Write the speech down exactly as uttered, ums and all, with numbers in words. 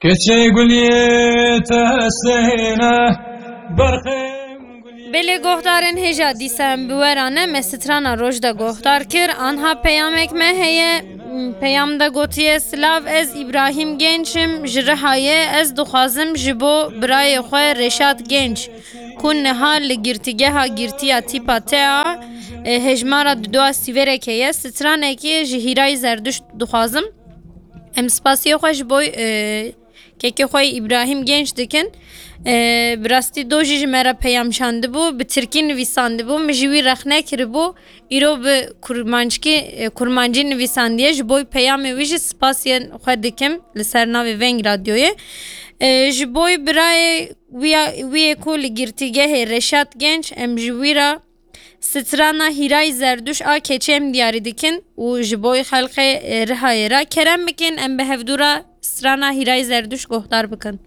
Keçê guliyê te hesêne, berxê guliyê. Belê guhdarên hêja dîsa em bi we re ne, me strana roj de guhdar kir. Anha peyamek me heye. Peyam de gotiye, Silav, ez Îbrahîm Genç im, ji Rihayê. Ez dixwazim ji bo birayê xwe Reşat Genç, ku niha li girtîgeha girtiya tîpa te a, e, hejmara di dua sîvereke ye, stranekê ji Hîray Zerduşt dixwazim. Em spasiya xwe ji bo, e, kekê xwe Îbrahîm Genç dikin. E, bi rastî do jî ji me re peyam şandibû, bi tirkî nivîsandibû, min ji wî rexne kiribû. Îro bi kurmanckî, e, kurmancî nivîsandiye. Ji bo peyamê wî jî spasiyên xwe dikim li ser navê Veng Radyoyê. E, ji bo birayê wî ya, wî yê ku li girtîgehê Reşat Genç, em ji wî re strana Hîray Zerdûş a keçê em diyarî dikin û ji bo xelkê, e, Rihayê re kerem bikin, em bi hevdû re strana Hîray Zerdûş guhdar bikin.